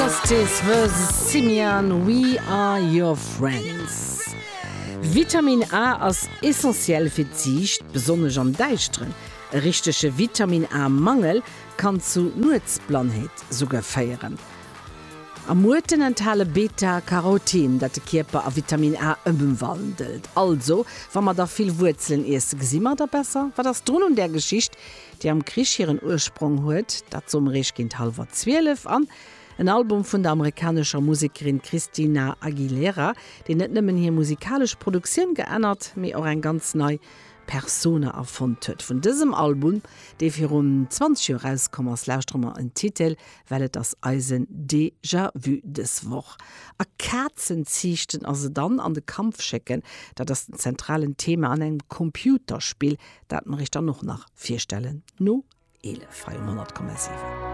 Justice vs Simian, We Are Your Friends. Vitamin A ass essentiell fir d'Siicht, besonnesch am Däischteren. E richtege Vitamin A Mangel kann zu Nuetsblannheet souguer féieren. A Muerten enthale Beta-Carotin, dat de Kierper a Vitamin A ëmwandelt. Also, wa mer da vill Wuerzelen iessen, gesi mer da besser? Wat ass drun un där Geschicht, déi am Krich hiren Ursprong huet? Dat soe mer iech géint hallwer 12. An en Album vun der amerikanescher Musekerin Christina Aguilera, deen net nëmmen hir musikalesch Produktioun geännert, mee och eng ganz nei Persona erfonnt huet. Vun dësem Album, dee virun 20 Joer erauskomm ass, lauschtere mer en Titel, well et ass eisen Déjà-vu dës Woch. A Kazen ziichten a se dann an de Kampf schécken, dat ass den zentralen Thema an engem Computerspill, dat mer iech dann och nach virstellen no 11 hei um 100,7.